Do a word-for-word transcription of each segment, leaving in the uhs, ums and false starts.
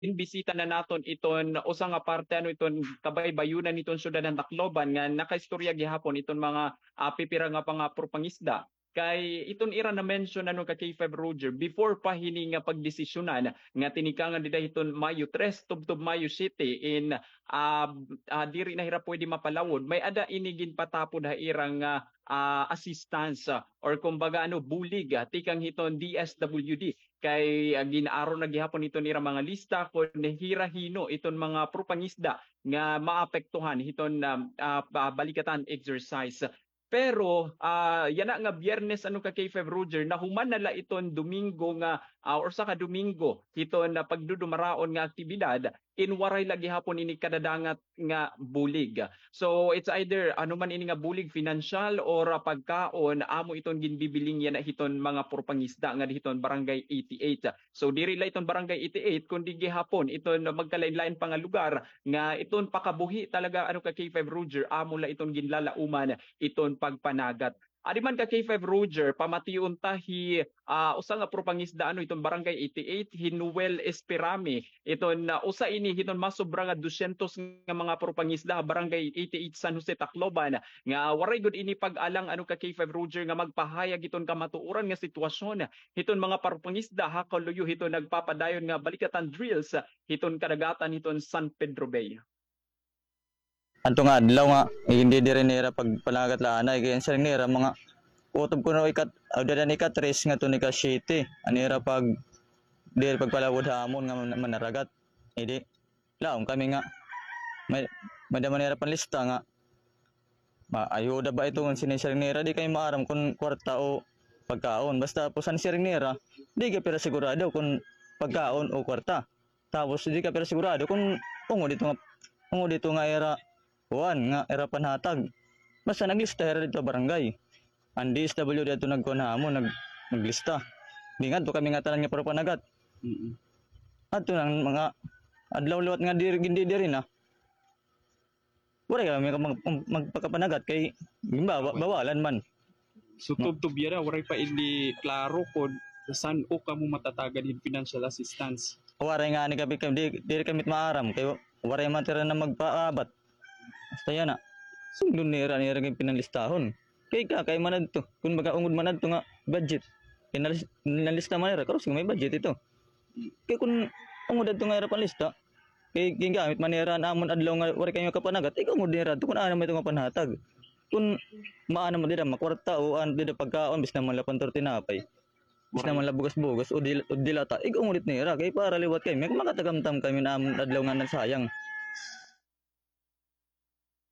ginbisita na naton iton usa nga parte, ano, iton kabaybayonan hiton syudad han Tacloban nga nakaistorya gihapon iton mga, ah, pipira nga mga propangisda. Kay iton ira na-mention, ano, ka K five Roger, before pa hini nga pagdesisyonan nga tinikangan dida hiton Mayo tres tubtob Mayo siyete in, ah, ah, diri na hira pwede mapalawod, may-ada ini ginpatapod ha ira nga, ah, assistance, ah, or kumbaga, ano, bulig, ah, tikang hiton D S W D. Kay, ah, gin-aro na gihapon hiton ira mga lista kon hira hino iton mga propangisda nga maapektuhan hiton, ah, ah, pa-, balikatan exercise. Pero, ah, yana nga Biyernes, ano, ka K five Roger, nahuman na la iton Domingo nga, ah, or saka Domingo, hiton, ah, pagdudumaraon nga aktibidad, in waray la gihapon ini kadadangat nga bulig. So, it's either ano man ini nga bulig, financial or, ah, pagkaon, amo iton ginbibiling yana hiton mga propangisda nga hiton Barangay eighty-eight. So, diri la iton Barangay eighty-eight, kundi gihapon iton magkalain-lain pa nga lugar nga iton pakabuhi talaga, ano, ka K five Roger, amo la iton ginlalauman iton pagpanagat. Adi man ka K five Roger, pamation ta hi, ah, usa nga propangisda, ano, iton Barangay eighty-eight, hi Noel Esperame. Iton, ah, usa ini hiton masobra nga dosyentos nga mga propangisda ha Barangay eighty-eight, San Jose, Tacloban, nga waray gud ini pag-alang, ano, ka K five Roger, nga magpahayag hiton kamatuoran nga sitwasyon hiton mga propangisda ha kaluyo hiton nagpapadayon nga balikatan drills hiton kadagatan hiton San Pedro Bay. Adto nga adlaw nga, igindidiri nira pagpanagat la anay, kay an siring nira, mga kutob kuno ikat-, awdadan ika-tres ngadto nika-siyete, an ira pag-, diri pagpalawod ha amon nga man-, manaragat. Idi, laom kami nga, may, may-ada man nira panlista nga, ma-, ayuda ba ito, an sinisiring nira, di kami maaram kon kwarta o pagkaon. Basta, pus an siring nira, di ka pira sigurado kon pagkaon o kwarta. Tapos di ka pero sigurado kon ungod ito nga, ungod ito nga ira, kuan, nga ira panhatag. Basta naglista hira didto ha barangay. An D S W D adto nagkuan ha amon, nag-, naglista. Di ngadto kami nga tanan nga propanagat. Mm. Adto na an mga adlaw liwat nga diri, gindidiri na. Waray kami mag-, mag-, magpakapanagat kay gimbawa-, bawalan man. So, tubtob yana, waray pa ini klaro kon san-o kamo matatagad hin financial assistance? Waray ngani kami, kay di, diri kami maaram kay waray man tira na magpaabat. Basta yana. Sugdon nira, nira kay pinanlistahon. Kay ka, kay man adto. Kon baga ungod man adto nga budget. Kay nalis-, nalista man nira, karos may budget ito. Kay kon ungod adto nga ira panlista, kay gingamit man nira an amon adlaw nga waray kami makapanagat, ig-ungod nira adto kon ano man ito nga panhatag. Kon maano man dida, makwarta o ano dida pagkaon, bisan man la pantor tinapay. Bisan man la bugas-bugas o dil-, o dilata, ig-ungod it nira, kay para liwat kami, makatagamtam kami an amon adlaw nga nasayang.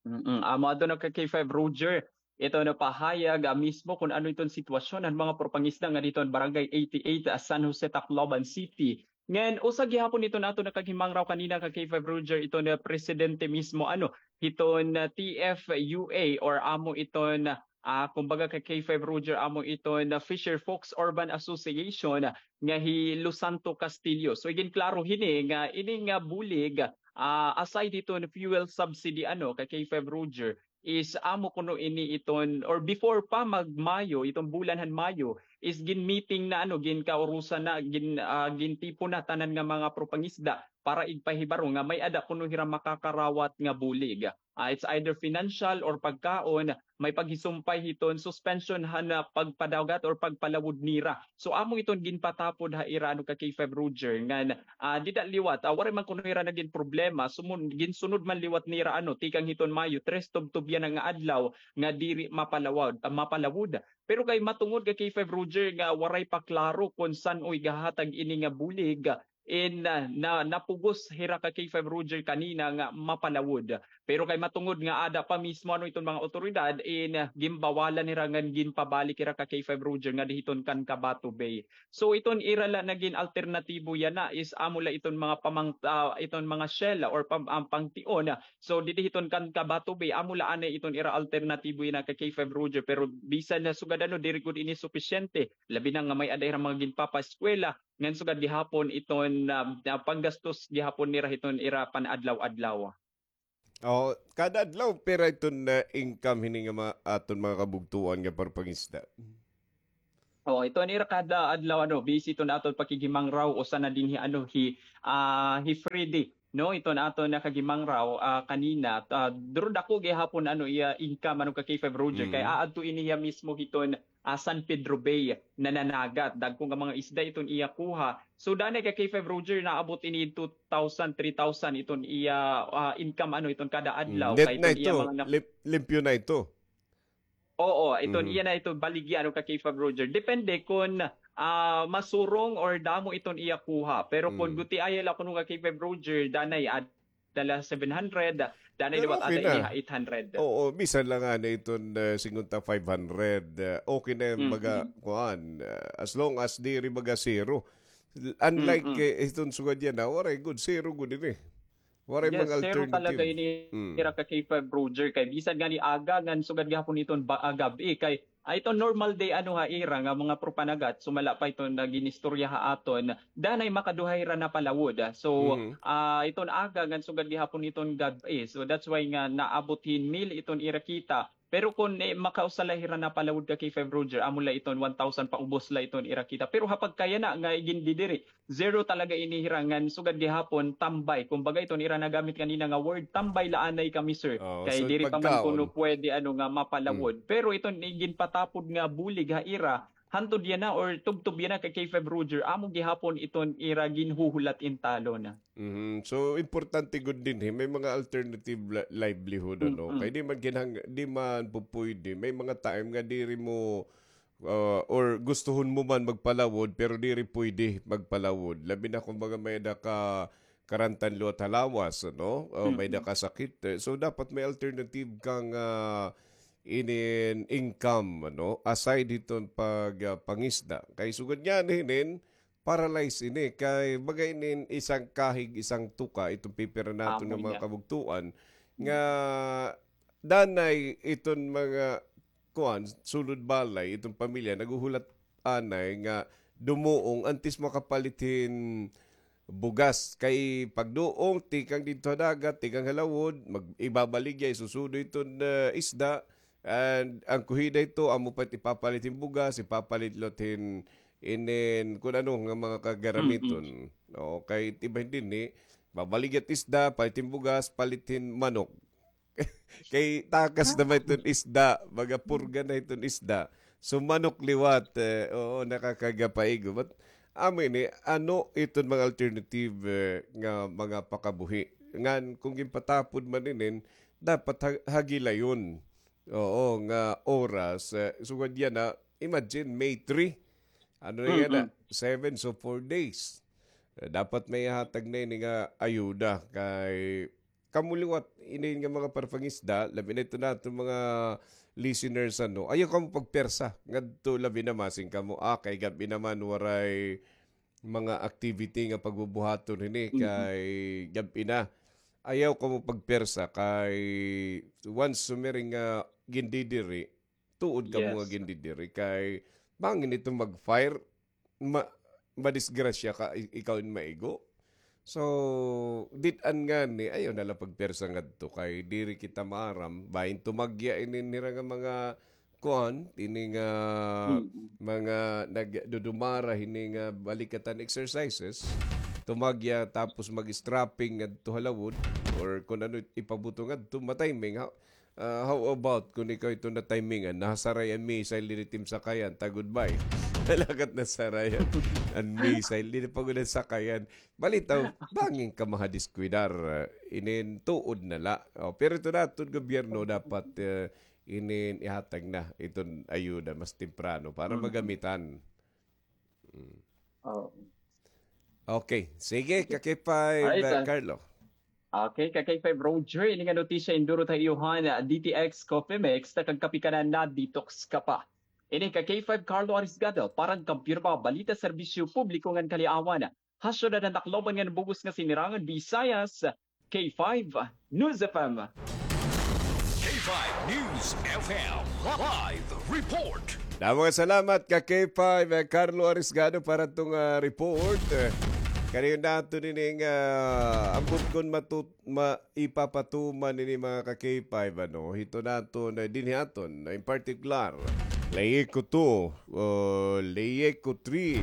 Mm, amo adto na ka K five Roger. Ito na pahayag, ah, mismo kon ano iton sitwasyon han mga propangisda nga didto han Barangay eighty-eight, ah, San Jose, Tacloban City. Ngan, usa gihapon iton aton nakaghimangraw kanina ka K five Roger, iton, ah, presidente mismo, ano, hiton, ah, T F U A or amo iton, ah, kumbaga ka K five Roger, amo iton, ah, Fisher Folks Urban Association, ah, nga hi Lusanto Castillo. So, iginklaro hini nga ini nga bulig, ah, aside hiton fuel subsidy, ano, ka K five Roger, is amo kuno ini iton, or before pa mag-Mayo, iton bulan han Mayo, is gin-meeting na, ano, ginkaurusan na, gin-, ah, gintipon na tanan nga mga propangisda para igpahibaro nga may-ada kuno hira makakarawat nga bulig. Ah, it's either financial or pagkaon, may paghisumpay hiton suspension han, ah, pagpadagat or pagpalawod nira. So, amo iton ginpatapod ha ira, ano, ka K five Roger, ngan, ah, dida liwat, ah, waray man kuno hira nagin problema, sumun-, ginsunod man liwat nira, ano, tikang hiton Mayo tres, tubtob yana nga adlaw nga diri mapalawod, ah, mapalawod. Pero kay matungod ka K five Roger nga waray pa klaro kon san-o igahatag ini nga bulig, in, ah, na, napugos hira ka K five Roger kanina nga mapalawod. Pero kay matungod nga ada pa mismo, ano, iton mga awtoridad, in, ah, ginbawalan hira ngan ginpabalik hira ka K five Roger ngadi hiton kan Cabato Bay. So, iton ira la nagin alternatibo yana is amo la iton mga pamang-, ah, iton mga shell or pam-, ah, pangtion. So, didi hiton kan Cabato Bay, amo la anay iton ira alternatibo yana ka K five Roger. Pero bisan na sugad ano, diri gud ini supisyente. Labi na nga may-ada hira mga ginpapaeskwela, ngan sugad gihapon iton, ah, ah, panggastos gihapon nira hiton ira pan-adlaw-adlaw. O, kada adlaw, pira iton, ah, income hini nga ma-, aton mga kabugtoan nga parpangisda? Oo, iton ira kada adlaw, ano, busy iton aton pakighimangraw, usa na dinhi, ano, hi, ah, hi Freddy, no, iton aton nakaghimangraw, ah, kanina, ah, duro dako gihapon, ano, iya income, ano, ka K five Roger, kay aadto ini hiya mismo hiton, ah, San Pedro Bay nananagat. Dagko nga mga isda iton iya kuha. So, danay ka K five Roger, naabot ini two thousand, three thousand iton iya, ah, income, ano, iton kada adlaw. Net na ito, lim-, limpyo na ito. Oo, iton iya na ito baligya, ano, ka K five Roger. Depende kon, ah, masurong or damo iton iya kuha. Pero kon gutiay la kuno ka K five Roger, danay, ah, dala seven hundred, danay liwat ada ini ha eight hundred. Oo, bisan la ngani iton, ah, singunta five hundred, ah, okay na yan, baga, kuan, ah, as long as diri baga zero. Unlike, eh, iton sugad yana, waray gud, zero gud ini. Waray mga alternative. Yes, zero talaga ini ira ka K five Roger, kay bisan ngani aga ngan sugad gihapon iton ba-, ah, gab-i, kay, ah, iton normal day, ano, ha ira nga mga propanagat, sumala pa iton nga ginistorya ha aton, danay makaduha hira napalawod. So, ah, iton aga ngan sugad gihapon iton gab-i. So, that's why nga naabot hin mil iton ira kita. Pero kon, eh, makausa la hira napalawod ka K five Roger, amo la iton one thousand paubos la iton ira kita. Pero ha pagkayana nga igindidiri, zero talaga ini hira ngan sugad gihapon, tambay. Kumbaga iton ira nagamit kanina nga word, tambay la anay kami, sir. Kay diri pa man kuno pwede, ano, nga mapalawod. Pero iton iginpatapod nga bulig ha ira, hantod yana or tubtob yana kay K five Roger, amo gihapon iton ira ginhuhulat in talon. Mhm. So, importante gud dinhi, may mga alternative li-, livelihood, ano? Kay di man kinahang-, di man pupuyde. May mga time nga diri mo, ah, or gustuhon mo man magpalawod, pero diri puyde magpalawod. Labi na, kumbaga, may-ada ka karantan liwat ha lawas, ano? O may-ada ka sakit. Eh, so, dapat may alternative kang, ah, inin income, ano? Aside hiton pag, ah, pangisda. Kay sugad niyan hinin, paralyze ini. Kay baga inin isang kahig, isang tuka, iton pipira naton nga mga kabugtoan, nga danay iton mga, kuan, sulod balay, iton pamilya, naghuhulat anay nga dumuong antes makapalit hin bugas. Kay pagduong, tikang didto ha dagat, tikang ha lawod, mag-, ibabaligya, isusudo iton, ah, isda, and an kuhida ito, amo pa it ipapalit hin bugas, ipapalit liwat hin inin, kun ano nga mga kagaramiton. Oo, kay it iba dinhi, babaligya it isda, palit hin bugas, palit hin manok. Kay takas na man iton isda, baga purga na iton isda. So, manok liwat, eh, oo, nakakagapaigo. But, amo ini, ano iton mga alternative, eh, nga mga pakabuhi? Ngan, kung ginpatapod man inin, dapat ha-, ha gilayon. Oo, nga oras, eh, sugad yana, imagine, May three. Ano na yana? Seven, so four days. Eh, dapat may hatag na ini nga ayuda kay kamo liwat, ini nga mga parapangisda, labi na ito naton mga listeners, ano, ayaw kamo pagpersa ngadto, labi na masing kamo, ah, kay gab-i naman waray mga activity nga pagbubuhaton hini kay gab-i na. Ayaw kamo pagpersa kay once sumiring nga gindidiri, tuod kamo nga gindidiri kay bangin ito mag-fire, ma-, madisgrasya ka, i-, ikaw in maigo. So, dit-an ngani, ayaw na la pagpersa ngadto kay diri kita maaram. Bahin tumagya ini nira nga mga kuan, ini nga mga nagdudumara hini nga balikatan exercises. Tumagya tapos mag-strapping ngadto ha lawod or kun ano ipabuto ngadto, matiming ha. Ah, how about kun ikaw ito na-timingan, nasaray an missile dinhi it im sakayan, ta goodbye. Talagat nasaray an, an missile, diri pa gud an sakayan. Balitaw, bangin ka mahadiskwidar, ah, inin tuod na la. O, pero ito naton gobyerno dapat, eh, inin ihatag na iton ayuda mas temprano para magamitan. Mm. Oo. Okay. Sige, ka K five, Carlo. Okay, ka K five Roger, ini nga notisya indurot ha iyo han D T X Coffee Mix, ta kag kape ka na, na-detox ka pa. Ini ka K five Carlo Arisgado, para han Kampirma, balita, serbisyo publiko ngan kaliawan. Ha syudad han Tacloban ngan bug-os nga sinirangan Visayas, K five News F M. K five News F M live report. Damo nga salamat ka K five, eh, Carlo Arisgado para tong, ah, report. Eh, kaniyo naton ining, ah, ambot kon matut-, ma-, ipapatuman ini mga ka K five, ano, hito naton, eh, dinhi aton, in particular, Leyeco two, uh, Leyeco three,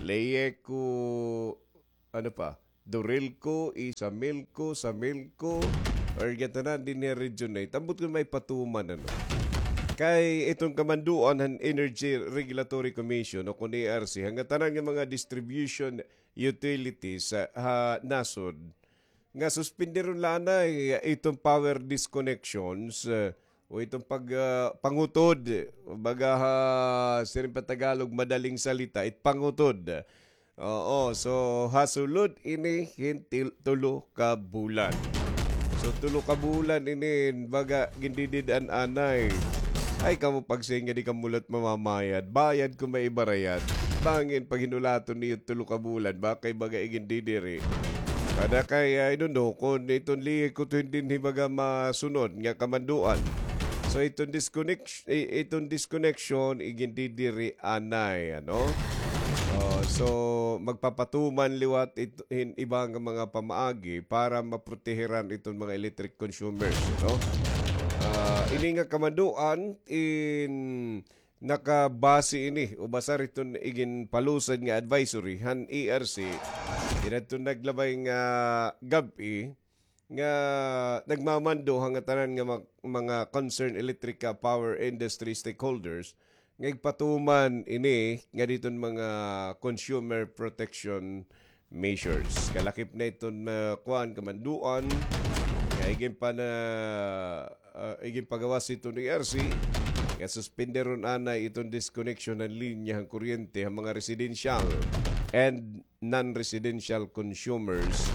Leyeco, ano pa? Dorelco, Isamilco, Samilco, or gatanan dinhi ha region na ito. Ambot kon may patuman, ano. Kay iton kamanduan han Energy Regulatory Commission o kon E R C, han gatanan nga mga distribution utilities, ah, ha nasod, nga suspenderon la anay iton power disconnections, eh, o iton pag, ah, pangutod, baga ha, siring pa Tagalog, madaling salita, it pangutod. Oo, so, ha sulod ini hin til-, tulo ka bulan. So, tulo ka bulan ini, baga, gindidid-an anay. Ay, kamo pagsiring nga di kamo la mamamayad. Bayad kon may ibarayad. Bangin paghinulaton niyo tulo ka bulan, baka ibaga igindidiri. Kada kay, I don't know, kon iton Leyeco two dinhi baga masunod nga kamanduan. So, iton disconnect-, i-, iton disconnection, igindidiri anay, ano? Oh, so, magpapatuman liwat it-, hin iba nga mga pamaagi para maproteheran iton mga electric consumers, no? Ah, ini nga kamanduan in nakabase ini o basar iton iginpalusad nga advisory han E R C, didto naglabay nga gab-i nga nagmamando ha ngatanan nga mag-, mga concerned electric, ah, power industry stakeholders nga igpatuman ini nga diton mga consumer protection measures. Kalakip na iton, ah, kuan, kamanduan nga igin pa na, ah, igin pagawas iton E R C nga suspenderon anay iton disconnection han linya han kuryente ha mga residential and non-residential consumers,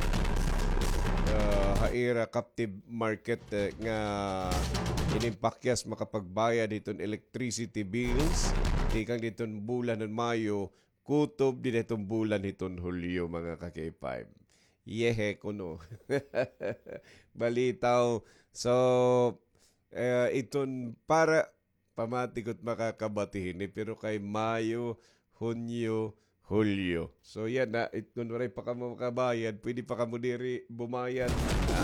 ah, ha ira captive market, eh, nga inimpakyas makapagbayad hiton electricity bills tikang diton bulan han Mayo kutob dida hiton bulan hiton Hulyo, mga ka-K five. Yehe kuno. Balitaw. So, eh, iton para pamati ko't makakabati hini, pero kay Mayo, Hunyo, Hulyo. So, yana, it, kon waray pa kamo makabayad, pwede pa kamo diri bumayad. Ha?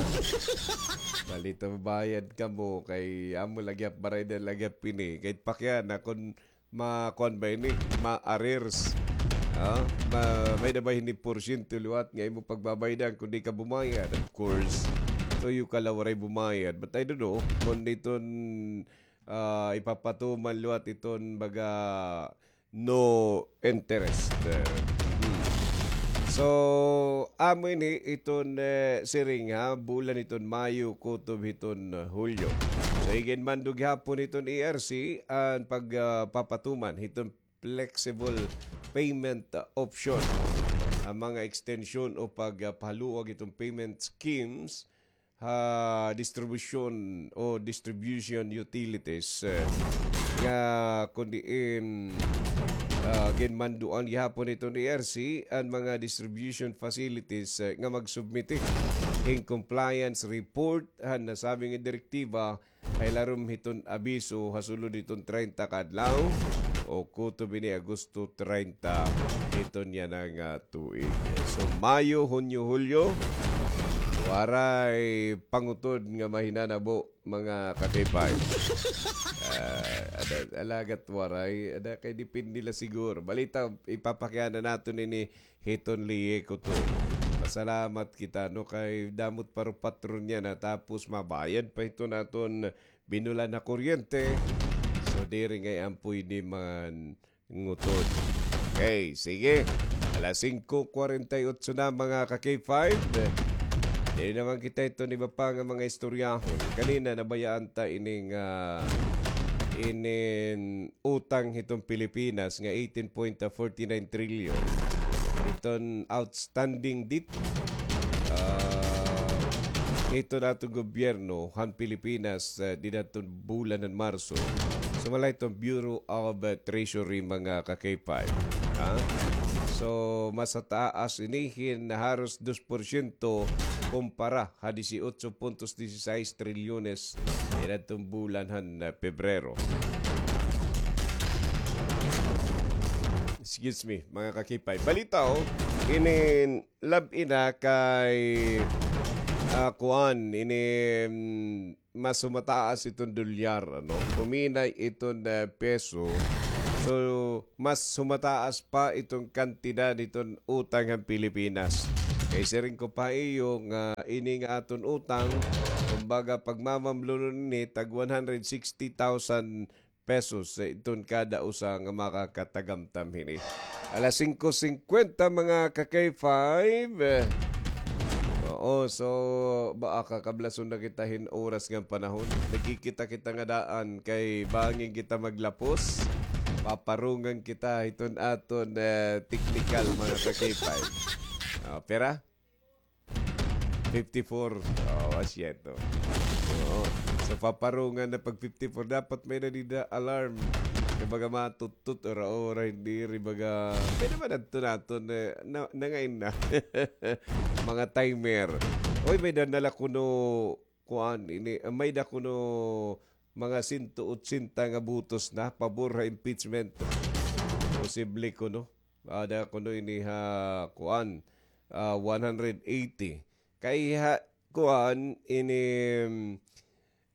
Balitaw, bayad kamo, kay amo la gihap, baraydan la gihap ini. Kay pakiana, kon ma-, kuan ba ini? Ma-arrears. Ha? Ma-, may-ada ba hini porsyento liwat nga imo pagbabaydan kon di ka bumayad? Of course. Tuyo ka la waray bumayad. But I don't know kon diton ah, ipapatuman liwat iton baga no interest. Eh, hmm. So, amo ini iton, eh, siring ha, bulan hiton Mayo kutob hiton, eh, Hulyo. So, iginmando gihapon hiton E R C an pag, ah, papatuman hiton flexible payment, ah, option. An mga extension o pag, ah, pahaluag hiton payment schemes ha distribution o distribution utilities, eh, nga kon diin, ah, ginmanduan gihapon hiton E R C an mga distribution facilities, eh, nga magsubmiti hin compliance report han nasabi nga direktiba ha ilarom hiton abiso ha sulod hiton treinta ka adlaw o kutob ini Agosto treinta hiton yana nga tuig. So, Mayo, Hunyo, Hulyo, waray pangutod nga mahinanabo, mga ka-K five. Ah, ada, alagad waray, ada kay depende la siguro. Balitaw, ipapakiana naton ini hiton Leyeco two. Pasalamat kita, no, kay damo it paro patron yana, tapos mabayad pa hiton aton binulan nga kuryente. So, diri ngay ampoy di man ngutod. Okay, sige. Alas singko kwarenta y otso na, mga ka-K five. Diri naman kita hiton iba pa nga mga istoryahon. Kanina, nabayaan ta ining, ah, inin utang hiton Pilipinas nga eighteen point forty nine trillion. Iton outstanding debt, ah, hiton aton gobyerno han Pilipinas, ah, dida hiton bulan han Marso. Sumala hiton Bureau of, ah, Treasury, mga ka-K five. Ha? So, mas taas ini hin haros dos porsyento kumpara ha dieciocho puntos dieciséis trilyones dida hiton bulan han, ah, Pebrero. Excuse me, mga ka-K five. Balitaw, inin lab-i na kay, ah, kuan, ini, mm, mas humataas iton dolyar, ano? Huminay iton, eh, peso. So, mas humataas pa iton kantidad iton utang han Pilipinas. Kay siring ko pa ha iyo nga ini nga aton utang, kumbaga, pagmamamlunon ini, tag one hundred sixty thousand pesos sa iton kada usa nga makakatagamtam hini. Alas singko singkwenta, mga ka-K five. Oo, so, ba, kakablason na kita hin oras ngan panahon. Nagkikita kita nga daan kay bangin kita maglapos. Paparungan kita hiton aton, eh, technical, mga ka-K five. Ah, pera? Fifty-four. Oh, asyento. Oo. Sa paparungan na pag fifty-four, dapat may nadida alarm. Kay baga matutut, ora-ora, hindi, ri baga, may naman adto naton, eh, na, nangain na. Mga timer. Oy, may danala kuno, kuan, ini, ah, may da kuno mga sento otsenta nga botos na pabor ha impeachment. Posible kuno. Ada kuno ini ha, kuan, ah, one hundred eighty. Kay ha, kuan, ini, mm,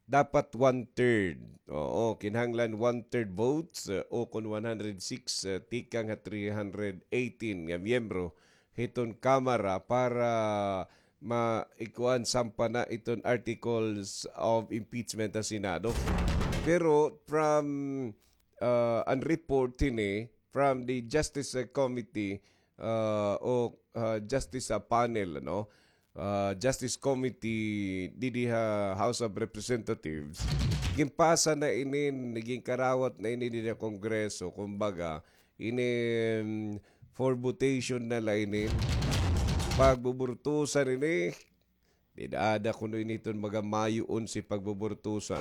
dapat one-third. Oo, kinahanglan one-third votes, uh, o kon one hundred six, uh, tikang ha three hundred eighteen nga miyembro hiton Kamara para ma-, ikuan, sampa na iton articles of impeachment ha Senado. Pero from, uh, an report hini from the Justice, uh, Committee, uh, o, uh, Justice, uh, Panel, ano? Uh, Justice Committee didi ha House of Representatives, ginpasa na ini, ginkarawat na ini didi ha Kongreso, kumbaga, ini, mm, for votation na la ini. Pagbuburtusan ini, dida ada kuno ini iton mga Mayo onse pagbuburtusan.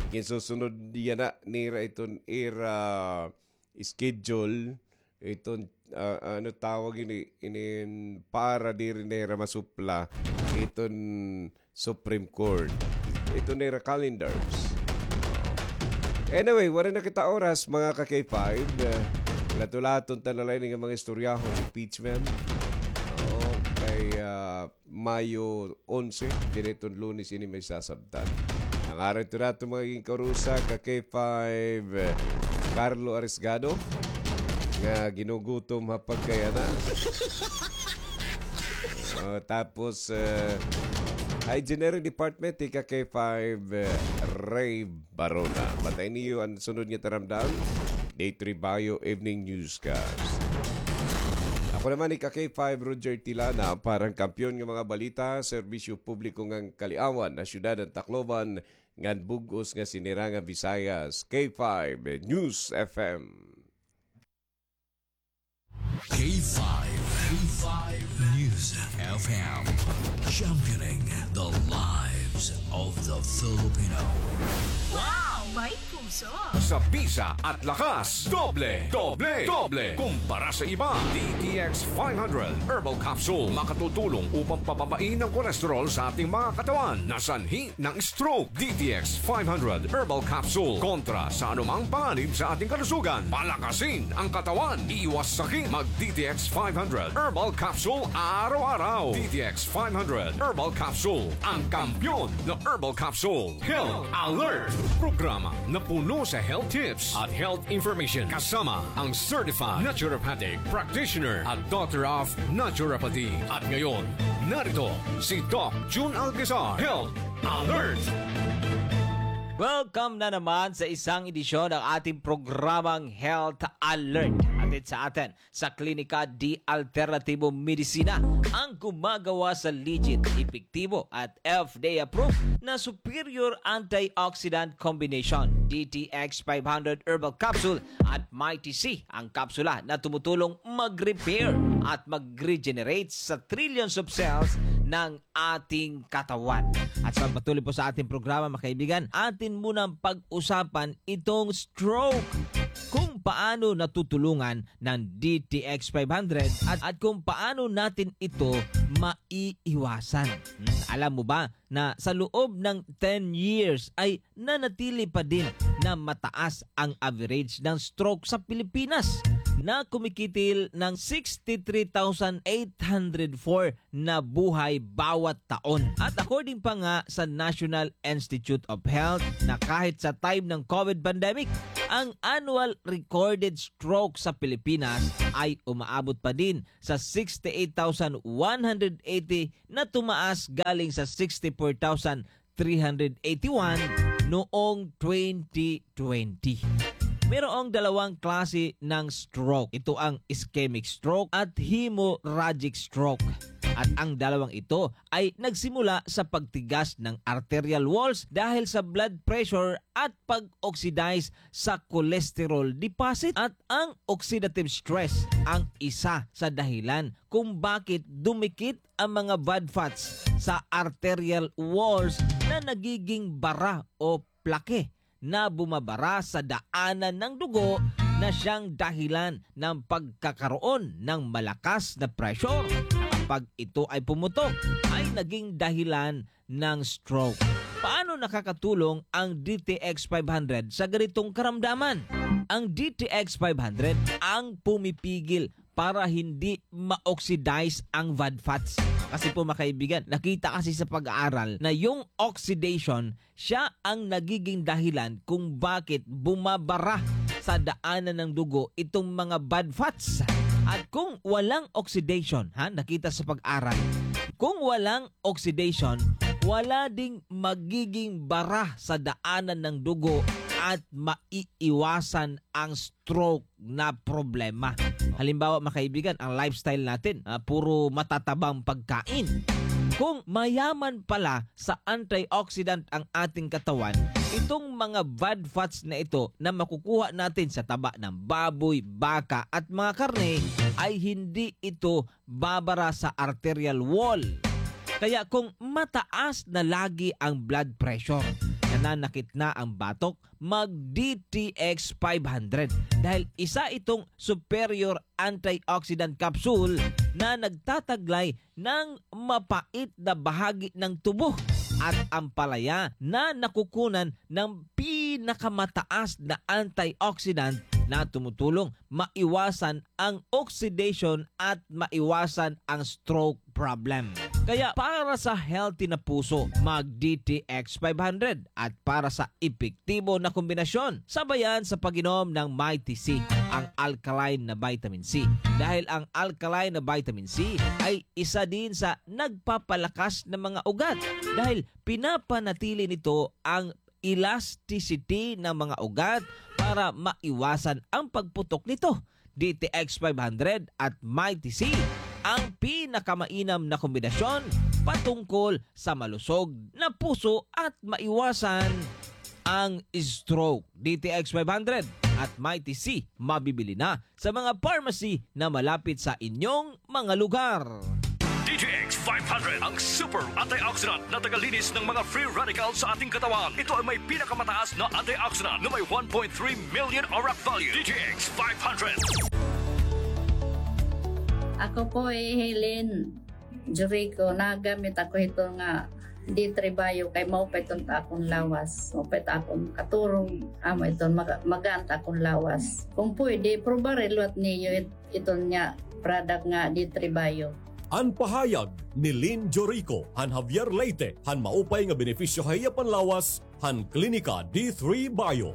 Ginsusunod yana nira iton ira schedule, iton, ah, ano tawag ini, inin para diri nira masupla iton Supreme Court. Iton nira calendars. Anyway, waray na kita oras, mga ka-K five. Eh, latulaton ta na la ini nga mga istoryahon, impeachment. Oo, kay, ah, Mayo onse, diri iton Lunes ini may sasabtan. An ngaran ito nato mga ginkarusa, ka-K five, eh, Carlo Arisgado, nga ginugutom ha pagkayana. Oh, tapos, eh, Hygiene Department, ika-K five, eh, Ray Barona. Batayin niyo an sunod nga taramdam. Day three Bayo Evening Newscast. Ako naman, ika-K five, Roger Tilana, para han kampiyon nga mga balita, serbisyo publiko ngan kaliawan ha syudad han Tacloban, ngan bug-os nga sinira nga Visayas, K five News F M. K five, K five News F M, championing the lives of the Filipino. Wow! May puso! Sa bisa at lakas, doble, doble, doble kumpara sa iba. D T X five hundred Herbal Capsule makatutulong upang pababain ang kolesterol sa ating mga katawan na sanhi ng stroke. D T X five hundred Herbal Capsule kontra sa anumang panganib sa ating kalusugan. Palakasin ang katawan. Iwas sakit. Mag D T X five hundred Herbal Capsule araw-araw. D T X five hundred Herbal Capsule, ang kampiyon na herbal capsule. Health Alert, programa na puno sa health tips at health information kasama ang certified naturopathic practitioner at doctor of naturopathy. At ngayon, narito si Doc Jun Alcazar. Health Alert! Welcome na naman sa isang edisyon ng ating programang Health Alert. Hatid sa atin sa Klinika de Alternatibo Medicina, ang gumagawa sa legit, epektibo at F D A approved na superior antioxidant combination, D T X five hundred Herbal Capsule at Mighty C, ang kapsula na tumutulong mag-repair at mag-regenerate sa trillions of cells ng ating katawan. At sa pagpatuloy po sa ating programa, mga kaibigan, atin munang pag-usapan itong stroke, kung paano natutulungan ng D T X five hundred at, at kung paano natin ito maiiwasan. Hmm, alam mo ba na sa loob ng ten years ay nanatili pa din na mataas ang average ng stroke sa Pilipinas? na kumikitil ng sixty-three thousand eight hundred four na buhay bawat taon. At according pa nga sa National Institute of Health, na kahit sa time ng COVID pandemic, ang annual recorded stroke sa Pilipinas ay umaabot pa din sa sixty-eight thousand one hundred eighty, na tumaas galing sa sixty-four thousand three hundred eighty-one noong twenty twenty. Mayroong dalawang klase ng stroke. Ito ang ischemic stroke at hemorrhagic stroke. At ang dalawang ito ay nagsimula sa pagtigas ng arterial walls dahil sa blood pressure at pag-oxidize sa cholesterol deposit. At ang oxidative stress ang isa sa dahilan kung bakit dumikit ang mga blood fats sa arterial walls na nagiging bara o plaque na bumabara sa daanan ng dugo na siyang dahilan ng pagkakaroon ng malakas na pressure. Kapag ito ay pumutok, ay naging dahilan ng stroke. Paano nakakatulong ang D T X five hundred sa ganitong karamdaman? Ang D T X five hundred ang pumipigil para hindi ma-oxidize ang bad fats. Kasi po, mga kaibigan, nakita kasi sa pag-aaral na yung oxidation, siya ang nagiging dahilan kung bakit bumabara sa daanan ng dugo itong mga bad fats. At kung walang oxidation, ha, nakita sa pag-aral, kung walang oxidation, wala ding magiging bara sa daanan ng dugo at maiiwasan ang stroke na problema. Halimbawa, mga kaibigan, ang lifestyle natin, ah, puro matatabang pagkain. Kung mayaman pala sa antioxidant ang ating katawan, itong mga bad fats na ito na makukuha natin sa taba ng baboy, baka at mga karne ay hindi ito babara sa arterial wall. Kaya kung mataas na lagi ang blood pressure, nananakit na ang batok, mag D T X five hundred dahil isa itong superior antioxidant capsule na nagtataglay ng mapait na bahagi ng tubo at ampalaya na nakukunan ng pinakamataas na antioxidant na tumutulong maiwasan ang oxidation at maiwasan ang stroke problem. Kaya para sa healthy na puso, mag D T X five hundred at para sa epektibo na kombinasyon, sabayan sa pag-inom ng Mighty C, ang alkaline na vitamin C. Dahil ang alkaline na vitamin C ay isa din sa nagpapalakas ng mga ugat dahil pinapanatili nito ang elasticity ng mga ugat para maiwasan ang pagputok nito. D T X five hundred at Mighty C, ang pinakamainam na kombinasyon patungkol sa malusog na puso at maiwasan ang stroke. D T X five hundred at Mighty C, mabibili na sa mga pharmacy na malapit sa inyong mga lugar. D T X five hundred, ang super antioxidant na tagalinis ng mga free radicals sa ating katawan. Ito ay may pinakamataas na antioxidant na may one point three million ORAC value. D T X five hundred. Ako po ay Helen Jurico. Nagamit ako hito nga D three Bio kay maupay iton ta akon lawas. Maupay ta akon katurog. Amo iton maga-, magaan ta akon lawas. Kung pwede, probari liwat niyo it-, iton nga product nga D three Bio. An pahayag ni Lynn Jorico han Javier Leyte han maupay nga benepisyo ha iya panlawas han Klinika D three Bio.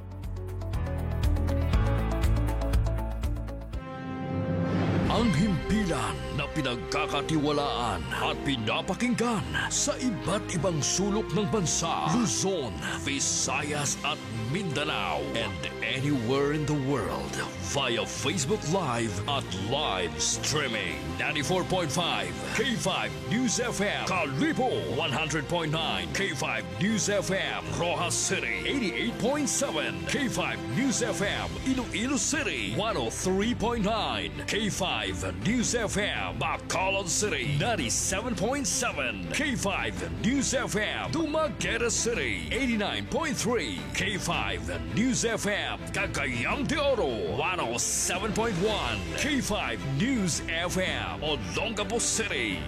Ang himpilan na pinagkakatiwalaan at pinapakinggan sa iba't ibang sulok ng bansa, Luzon, Visayas at Mindanao, and anywhere in the world via Facebook Live at live streaming. Ninety-four point five K five News F M, Kalibo, one hundred point nine K five News F M, Roxas City, eighty-eight point seven K five News F M, Iloilo City, one oh three point nine K five News F M, Bacolod City, ninety-seven point seven K five News F M, Dumaguete City, eighty-nine point three K five News F M, Cagayan de Oro, one oh seven point one K five News F M, Olongapo City,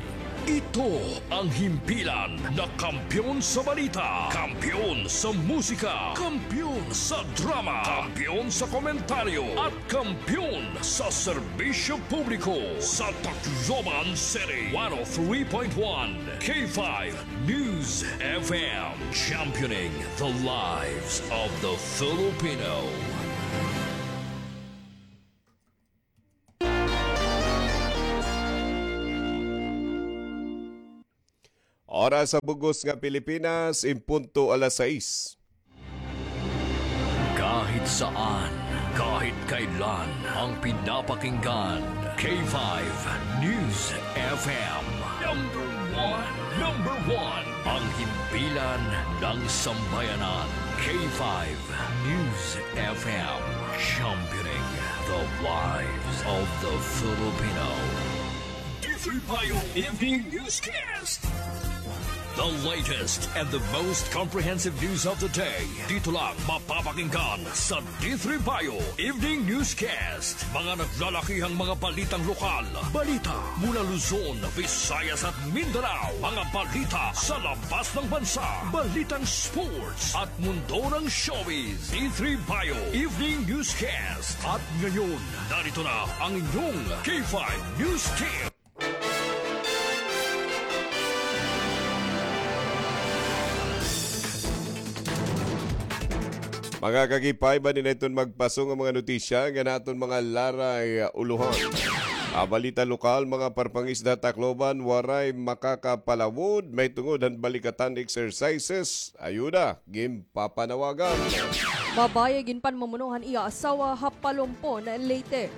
Ito ang himpilan na kampiyon sa balita, kampiyon sa musika, kampiyon sa drama, kampiyon sa komentaryo, at kampiyon sa serbisyo publiko. Sa Tacloban City, one oh three point one K five News F M, championing the lives of the Filipino. Oras sa bug-os nga Pilipinas, in punto alas sais. Kahit saan, kahit kailan, ang pinapakinggan, K five News F M. Number one, number one, ang himpilan ng sambayanan, K five News F M, championing the lives of the Filipino. D three Bio Evening Newscast. The latest and the most comprehensive news of the day. Dito lang mapapakinggan sa D three Bio Evening Newscast. Mga naglalakihang mga balitang lokal. Balita mula Luzon, Visayas at Mindanao. Mga balita sa labas ng bansa. Balitang sports at mundo ng showbiz. D three Bio Evening Newscast. At ngayon, narito na ang inyong K five News Team. Mga ka-K five, ania na iton magpaso nga mga notisya nga aton mga laray, ah, ulohan. Ah, balita lokal, mga parpangisda Tacloban, waray makakapalawod mahitungod han balikatan exercises. Ayuda, ginpapanawagan. Babaye ginpanmamono han iya asawa ha Palompon, Leyte.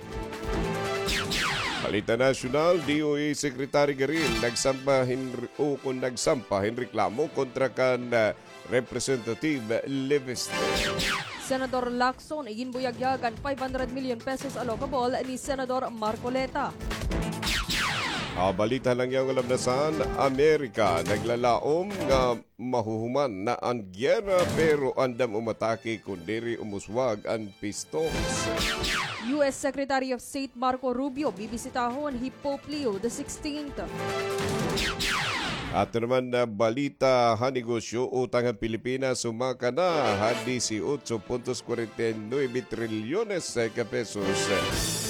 Balita nasyonal, D O E Secretary Garin nagsampa hin, ukon nagsampa hin reklamo kontra kan, ah, Representative Leviste. Senador Lacson iginbuyagyag an five hundred million pesos allocable ni Senador Marcoleta. Ah, balita lang yang alam na san, Amerika naglalaom nga mahuhuman na an giyera, pero andam umatake kon diri umuswag an pistos. U S Secretary of State Marco Rubio bibisitahon hi Pope Leo the sixteenth. Aton naman nga balita ha negosyo, utang han Pilipinas sumaka na ha disiotso puntos kwarenta y nuebe trilyones ka pesos.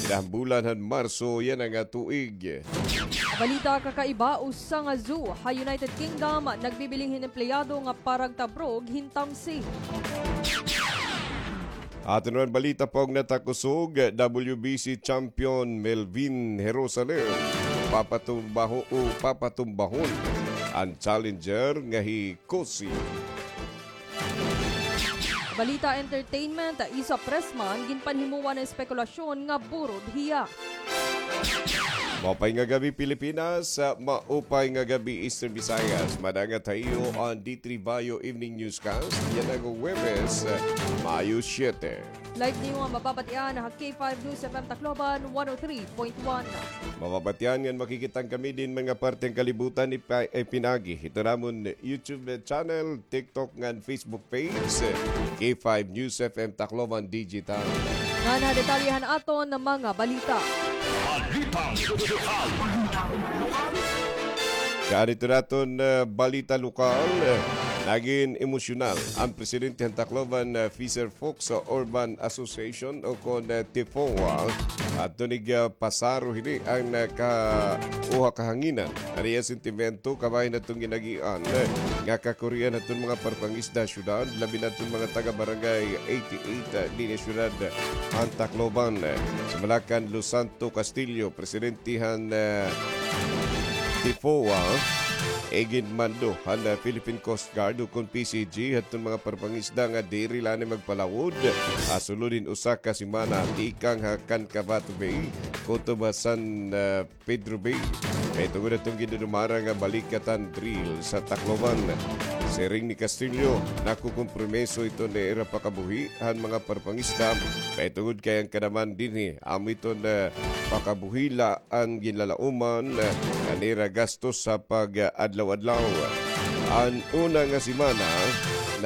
Kinabulan han Marso yana nga tuig. Balita kakaiba, usa nga zoo ha United Kingdom nagbibiling hin empleyado nga paragtabrog hin tamsi. Aton naman balita pa og natakusog, W B C champion Melvin Jerusalem. Papatumbaho o papatumbahon an challenger nga hi Kosi. Balita entertainment, isa pressman ginpanhimuan na espekulasyon nga burod hiya. Maupay nga gab-i, Pilipinas. Maupay nga gab-i, Eastern Visayas. Madungan ha iyo an D three Bio Evening Newscast. Yana nga Huwebes, Mayo siyete. Live niyo nga mababatian ha K five News F M Tacloban, one oh three point one. Mababatian ngan makikita kami din mga parte han kalibutan ipa-, ipinagi hito namon YouTube channel, TikTok ngan Facebook page, K five News F M Tacloban Digital. Ngan ha detalye han aton nga mga balita. Balitang lokal. Kaadto naton, eh, balita lokal, eh, nagin emosyonal an presidente han Tacloban, eh, Fisher Folk sa Urban Association o kon, eh, TIFOA, adto nig, ah, pasaro hini an, ah, ka-, uha kahanginan. Ari an sentimento kabahin aton gin-agian, eh, nga kakurian aton mga parpangisda ha syudad, labi na aton mga taga Barangay eighty-eight, ah, dinhi ha syudad han Tacloban. Sumala kan Los Santos Castillo, presidente han, ah, TIFOA, iginmando han, ah, Philippine Coast Guard o kon P C G, hadton mga parpangisda nga diri la anay magpalawod ha sulod hin usa ka semana tikang ha Cancabato Bay, kutob ha San, ah, Pedro Bay. Kay tungod hadton gindudumara nga balikatan drill sa Tacloban. Siring ni Castillo, nakukompromiso iton ira pakabuhi han mga parpangisda, kay tungod kay an kanaman dinhi, amo iton, ah, pakabuhi la an ginlalauman, ah, han ira gastos sa pag-adlaw-adlaw. An una nga semana,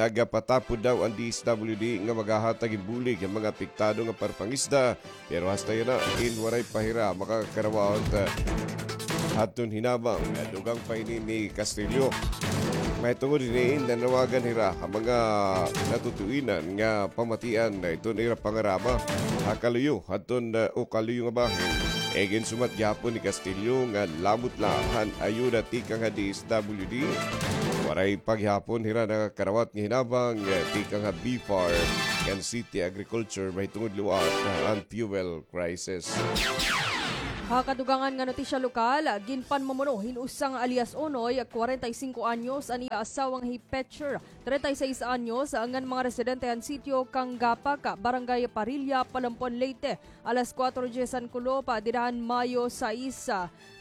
nagapatapod daw an D S W D nga maghahatag hin bulig han mga apektado nga parpangisda, pero hasta yana, in waray pa hira makakarawat, ah, hadton hinabang, ah, dugang pa ini ni Castillo. Mahitungod hini, nanawagan hira ha mga natutuinan nga pamatian na iton ira pangarama ha kaluyo hadton, ah, o kaluyo nga bahin. Iginsumat gihapon ni Castillo nga labot la han ayuda tikang ha D S W D. Waray pa gihapon hira nakakarawat nga hinabang, ah, tikang ha BFAR ngan City Agriculture mahitungod liwat han fuel crisis. Ha kadugangan nga notisya lokal, ginpanmumuno hin usa nga alias Unoy, kwarenta y singko anyos, an iya asawa nga hi Petcher, treinta y seis anyos, ngan mga residente han sitio Kanggapak, Barangay Parilla, Palompon, Leyte, alas kuwatro dyes han kulop, dida han Mayo sais.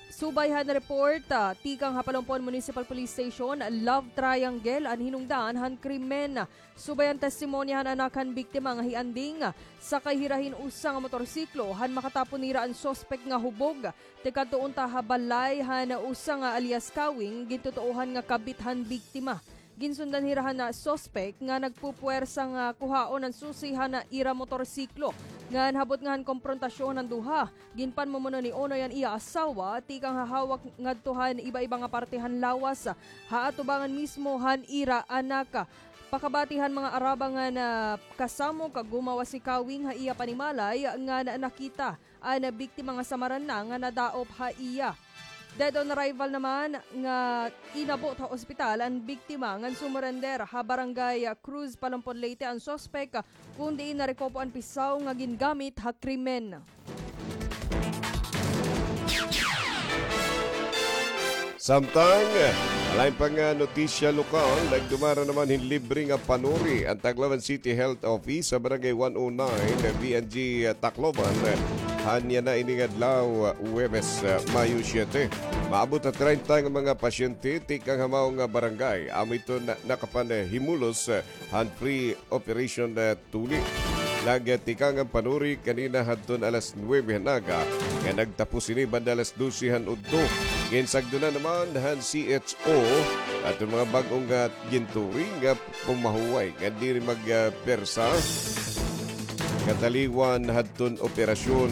Subay han report, ah, tikang ha Palompon Municipal Police Station, love triangle an hinungdan han krimen. Subay han testimonya han anak han biktima nga hi Anding, sakay hira hin usa nga motorsiklo, han makatapon nira an suspek nga hubog tikadto unta ha balay han usa nga alias Kawing, gintutuohan nga kabit han biktima. Ginsundan hira han suspek nga nagpupuwersa nga kuhaon an susi han ira motorsiklo. Ngan habot nga han komprontasyon han duha, ginpanmumuno ni Unoy an iya asawa tikang ha hawak ngadto han iba-iba nga parte han lawas, ha atubangan mismo han ira anak. Pakabati han mga araba ngan kasamok, gumawas si Kawing ha iya panimalay ngan nakita an biktima nga samaran na nga nadaop ha iya. Dead on arrival naman nga inabot ha ospital an biktima ngan sumurender ha Barangay Cruz, Palompon, Leyte an suspek, kun diin narekopo an pisaw nga gingamit ha krimen. Samtang, lain pa nga notisya lokal, nagdumara naman hin libre nga panuri an Tacloban City Health Office sa Barangay one oh nine, B N G Tacloban, han yana ini nga adlaw, Huwebes, Mayo siyete. Maabot ha treinta nga mga pasyente tikang ha mao nga barangay. Amo iton nakapanhimulos han free operation, eh, tuli. Nagtikang an panuri kanina hadton alas nuwebe han aga, nga nagtapos ini banda alas dose han udto. Ginsagdonan naman han C H O aton mga bag-o nga ginturi nga pumahuway nga diri magpersa kataliwan hadton operasyon.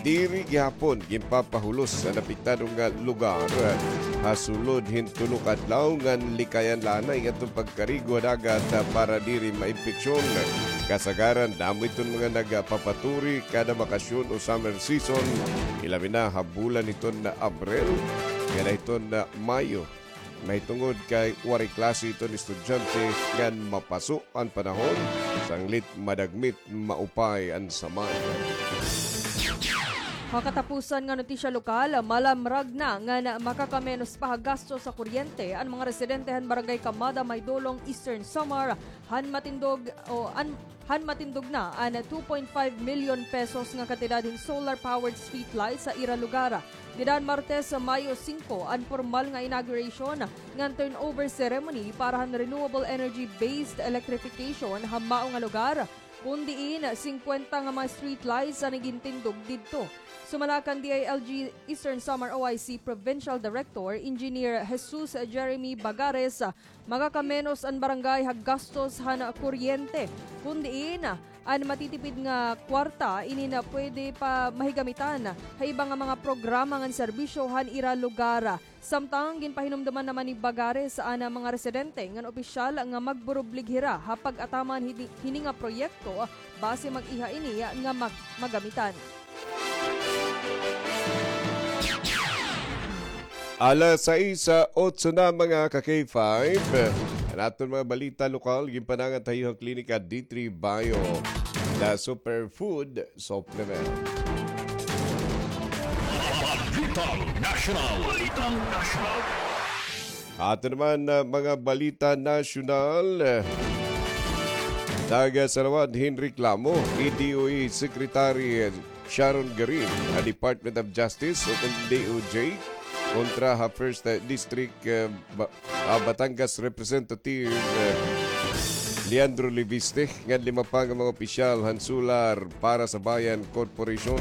Diri gihapon ginpapahulos an apektado nga lugar ha sulod hin tulo ka adlaw ngan likayan la anay aton pagkarigo ha dagat para diri maimpeksyon. Kasagaran, damo iton mga nagpapaturi kada bakasyon o summer season, ilabi na ha bulan hiton Abril ngan hiton Mayo. Mahitungod kay waray klase iton estudyante ngan mapaso an panahon, sanglit madagmit maupay an samad. Ha katapusan nga notisya lokal, malamrag na ngan makakamenos pa ha gastos ha kuryente an mga residente han Barangay Camada, Maydolong, Eastern Samar, han matindog o an han matindog na an two point five million pesos nga kantidad hin solar-powered streetlights ha ira lugar. Dida han Martes, Mayo singko, an pormal nga inauguration ngan turnover ceremony para han renewable energy-based electrification ha mao nga lugar, kun diin singkwenta nga mga streetlights an igintindog didto. Sumala kan D I L G Eastern Samar O I C Provincial Director Engineer Jesus Jeremy Bagares, makakamenos an barangay ha gastos han kuryente, kun diin an matitipid nga kwarta inin pwede pa mahigamitan ha iba nga mga programa ngan serbisyo han ira lugar. Samtang ginpahinumduman naman ni Bagares an mga residente ngan opisyal nga magburublig hira ha pag-ataman hini, hini nga proyekto basi mag-iha ini nga mag-, magamitan. Alas sais otso na, mga ka-K five. An aton mga balita lokal, ginpanangan ha iyo han Klinika D three Bio, the superfood supplement. Balitang Nasyonal. Balitang Nasyonal. Ato naman, ah, mga balita nasyonal. Nagsalawad hin reklamo hi D O E Secretary Sharon Garin ha Department of Justice o kon D O J kontra ha First, ah, District, ah, Ba-, ah, Batangas Representative, ah, Leandro Leviste ngan lima pa nga mga opisyal han Solar para sa Bayan Corporation.